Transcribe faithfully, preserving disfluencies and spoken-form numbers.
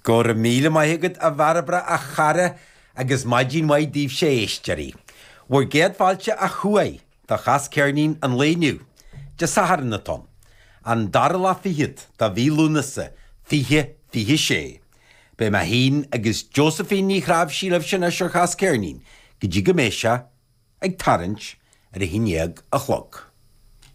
Go raibh míle maith agat a Bhairbre a chara agus maidin mhaith daoibhse a éisteoirí. Bhur gcéad fáilte ó thuaidh do Chas Ceirnín an lae inniu, Dé Sathairn atá ann, an dara lá fichead de mhí Lúnasa fiche fiche sé. Beidh mé féin agus Josephine Ní Chnáimhsí libhse anois ar Chas Ceirnín go dtí go mbeidh sé ag tarraingt ar a haon déag a chlog.